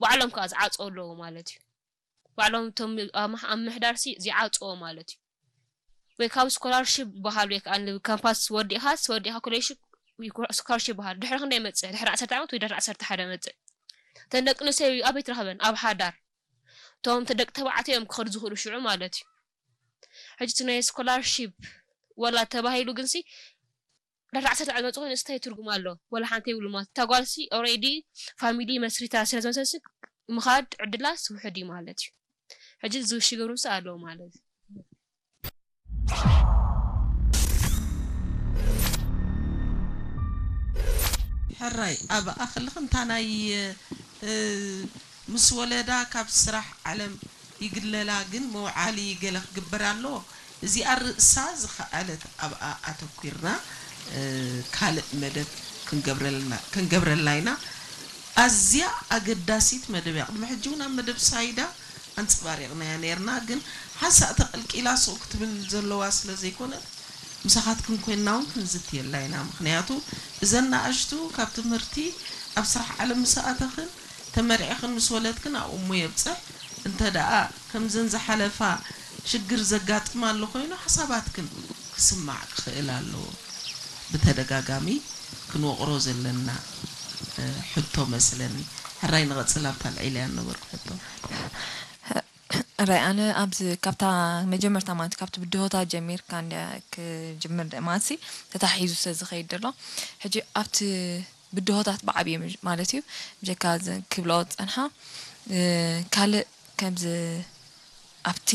ባዕሎም ከዓ ዝዓፅዎ ኣለዉ ማለት እዩ። ባዕሎም እቶም ኣብ ምሕ- ኣብ ምሕዳር ሲ ዝዓፅዎ ማለት እዩ። ወይ ካብ ስኮላርሽፕ በሃል ወይ ከዓ ካምፓስ ወዲእኻስ ወዲእኻ ኮሌጅ ስኮላርሽፕ በሃል ድሕሪ ክንደይ መፅእ? ድሕሪ ዓሰርተ ዓመት ወይ ድሕሪ ዓሰርተ ሓደ መፅእ? እተን ደቂ ኣንስትዮ ኣበይ ትረኽበን? ኣብ ሓዳር። እቶም ደቂ ተባዕትዮ እዮም ክኸዱ ዝኽእሉ ሽዑ ማለት እዩ። ሕጂ እቲ ናይ ስኮላርሺፕ ወላ ተባሂሉ ግንሲ ድሕሪ ዓሰርተ ዓመት መፅኡ ንስታይ ትርጉም ኣሎ? ወላ ሓንቲ የብሉ ማለት እታ ጓልሲ ኦሬዲ ፋሚሊ መስሪታ ስለ ዝመሰልሲ ምኻድ ዕድላ ስውሕድ እዩ ማለት እዩ። ሕጂ ዝሽገሩ ስ ኣለዉ ማለት እዩ። ሕራይ ኣብ ኣኽልኽን እታ ናይ ምስ ወለዳ ካብ ስራሕ ዓለም ይግለላ ግን መውዓሊ ገለ ክግበር ኣለዎ። እዚኣ ርእሳ ዝኸኣለት ኣብኣ ኣተኲርና ካልእ መደብ ክንገብረላ ኢና። ኣዝያ ኣገዳሲት መደብ እያ። ቅድሚ ሕጂ እውን ኣብ መደብ ሳይዳ ኣንጸባሪቕናያ ነይርና፣ ግን ሓንሳእ ተቐልቂላ ሱቕ ክትብል ዘለዋ ስለ ዘይኮነት ምሳኻትክን ኮይንና እውን ክንዝትየላ ኢና። ምኽንያቱ እዘን ንኣሽቱ ካብ ትምህርቲ ኣብ ስራሕ ዓለም ምስ ኣተኽን ተመርዒኽን ምስ ወለድክን ኣብኡ እሞ የብጽሕ። እንተ ደኣ ከምዘን ዝሓለፋ ሽግር ዘጋጥማ ኣሎ ኮይኑ ሓሳባትክን ክስማዕ ክኽእል ኣለዎ። ብተደጋጋሚ ክንወቕሮ ዘለና ሕቶ መስለኒ። ሕራይ ንቐጽል ኣብታ ኣልዒለያ ነበርኩ ሕቶ። ራይ ኣነ ኣብዚ ካብታ መጀመርታ ማለት ካብቲ ብድሆታት ጀሚርካ እንድያ ክጅምር ማለት ተታሒዙ ስለ ዝኸይድ ዘሎ ሕጂ ኣብቲ ብድሆታት ብዓብዩ ማለት እዩ ብጀካ ክብሎ ፀንሓ ካልእ ከምዚ ኣብቲ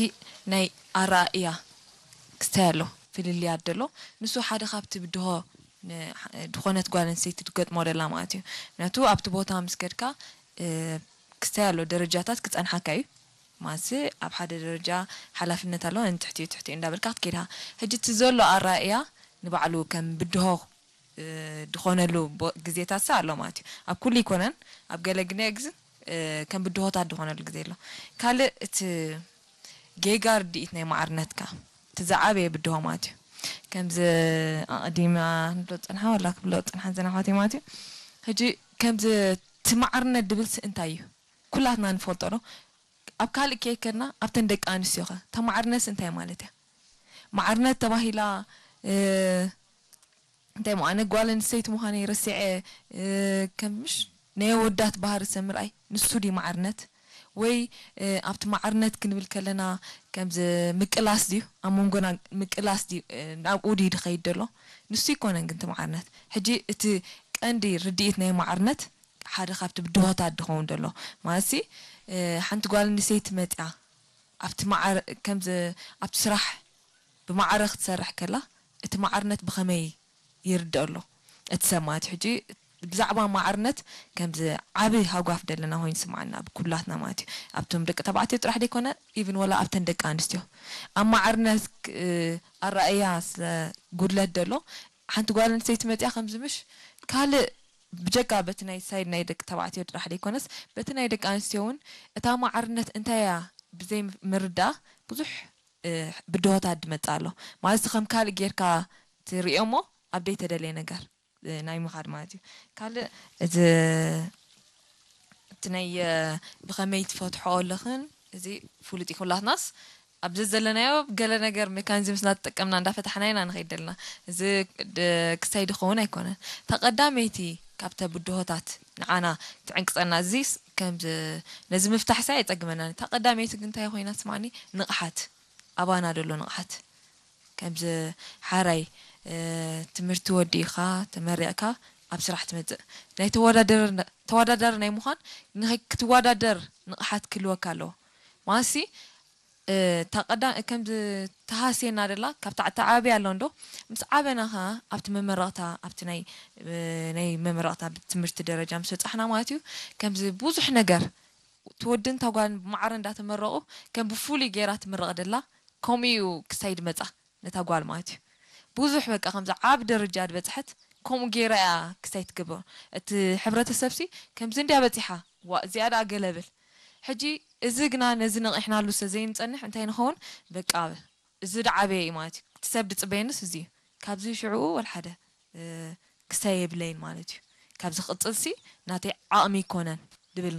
ናይ ኣራእያ ክስታይ ኣሎ ፍልልያት ደሎ ንሱ ሓደ ካብቲ ብድሆ ዝኾነት ጓል ኣንስተይቲ ትገጥሞ ደላ ማለት እዩ ምክንያቱ ኣብቲ ቦታ ምስ ከድካ ክስታይ ኣሎ ደረጃታት ክፀንሓካ እዩ ማለት ኣብ ሓደ ደረጃ ሓላፍነት ኣሎ ንትሕቲ ትሕቲ እንዳበልካ ክትከይድካ ሕጂ እቲ ዘሎ ኣራእያ ንባዕሉ ከም ብድሆ ድኾነሉ ግዜታት ሳ ኣሎ ማለት እዩ ኣብ ኩሉ ይኮነን ኣብ ገለ ግዜ ግዝን ከም ብድሆታት ድኾነሉ ግዜ ኣሎ ካልእ እቲ ጌጋ ርድኢት ናይ ማዕርነትካ እቲ ዝዓበየ ብድሆ ማለት እዩ ከምዚ ኣቕዲማ ንብሎ ፅንሓ ወላ ክብሎ ፅንሓ ዘናኳት ማለት እዩ ሕጂ ከምዚ እቲ ማዕርነት ድብልሲ እንታይ እዩ ኩላትና ንፈልጦ ዶ ኣብ ካልእ ከይከድና ኣብተን ደቂ ኣንስትዮ ኸ እታ ማዕርነት እንታይ ማለት እያ ማዕርነት ተባሂላ እንታይ ሞ ኣነ ጓል ኣንስተይቲ ምዃነይ ረሲዐ ከም ምሽ ናይ ኣወዳት ባህሪ ሰብ ምርኣይ ንሱ ድዩ ማዕርነት ወይ ኣብቲ ማዕርነት ክንብል ከለና ከምዚ ምቅላስ ድዩ ኣብ መንጎና ምቅላስ ድዩ ናብኡ ድዩ ድኸይድ ደሎ ንሱ ይኮነን ግን እቲ ማዕርነት ሕጂ እቲ ቀንዲ ርድኢት ናይ ማዕርነት ሓደ ካብቲ ብድሆታት ድኸውን ደሎ ማለት ሓንቲ ጓል ኣንስተይቲ መፅያ ኣብቲ ማዕረ ከምዚ ኣብቲ ስራሕ ብማዕረ ክትሰርሕ ከላ እቲ ማዕርነት ብኸመይ ይርድኦ ኣሎ እቲ ሰብ ማለት እዩ ሕጂ ብዛዕባ ማዕርነት ከምዚ ዓቢ ሃጓፍ ደለና ኮይኑ ስምዓና ኣብ ኩላትና ማለት እዩ ኣብቶም ደቂ ተባዕትዮ ጥራሕ ደይኮነ ኢቭን ወላ ኣብተን ደቂ ኣንስትዮ ኣብ ማዕርነት ኣራእያ ስለ ጉድለት ደሎ ሓንቲ ጓል ኣንስተይቲ መፅያ ከምዚ ምሽ ካልእ ብጀካ በቲ ናይ ሳይድ ናይ ደቂ ተባዕትዮ ጥራሕ ደይኮነስ በቲ ናይ ደቂ ኣንስትዮ እውን እታ ማዕርነት እንታይ እያ ብዘይ ምርዳእ ብዙሕ ብድሆታት ድመፅእ ኣሎ ማለት ከም ካልእ ጌርካ ትሪኦ እሞ ኣብ ደይተደለየ ነገር ናይ ምኻድ ማለት እዩ ካልእ እዚ እቲ ናይ ብኸመይ ትፈትሖ ኣለኽን እዚ ፍሉጥ እዩ ኩላትናስ ኣብ ዘዘለናዮ ገለ ነገር ሜካኒዝምስ እናተጠቀምና እንዳፈታሕና ኢና ንኸይድ ዘለና እዚ ክሳይ ድኸውን ኣይኮነን እታ ቀዳመይቲ ካብተ ብድሆታት ንዓና ትዕንቅፀና እዚስ ከም ነዚ ምፍታሕ ሳይ ኣይፀግመናን እታ ቀዳመይቲ ግን እንታይ ኮይና ስማኒ ንቕሓት ኣባና ደሎ ንቕሓት ከምዚ ሓራይ ትምህርቲ ወዲእኻ ተመሪቕካ ኣብ ስራሕ ትመፅእ ናይ ተወዳዳሪ ናይ ምዃን ክትወዳደር ንቕሓት ክህልወካ ኣለዎ ማሲ እታ ቀዳ ከምዚ ተሃስየና ደላ ካብ ታዕቲ ዓብያ ኣሎ እንዶ ምስ ዓበና ኸዓ ኣብቲ መመረቕታ ኣብቲ ናይ ናይ መመረቕታ ትምህርቲ ደረጃ ምስ በፃሕና ማለት እዩ ከምዚ ብዙሕ ነገር ትወድን ተጓን ብማዕረ እንዳተመረቑ ከም ብፍሉይ ገይራ ትምረቕ ደላ ከምኡ እዩ ክሳይ ድመፃ ነታ ጓል ማለት እዩ ብዙሕ በቃ ከምዚ ዓብ ደረጃ ድበፅሐት ከምኡ ገይራ እያ ክሳይ ትገብሮ እቲ ሕብረተሰብ ሲ ከምዚ እንድያ በፂሓ ዋ እዚኣ ደኣ ገለብል ሕጂ እዚ ግና ነዚ ነቒሕናሉ ስለ ዘይንፀንሕ እንታይ ንኸውን በቃ እዚ ደዓበየ እዩ ማለት እዩ እቲ ሰብ ድፅበየንስ እዚ እዩ ካብዚ ሽዕኡ ወልሓደ ክሳይ የብለይን ማለት እዩ ካብዚ ክቕፅል ሲ ናተይ ዓቕሚ ይኮነን ድብል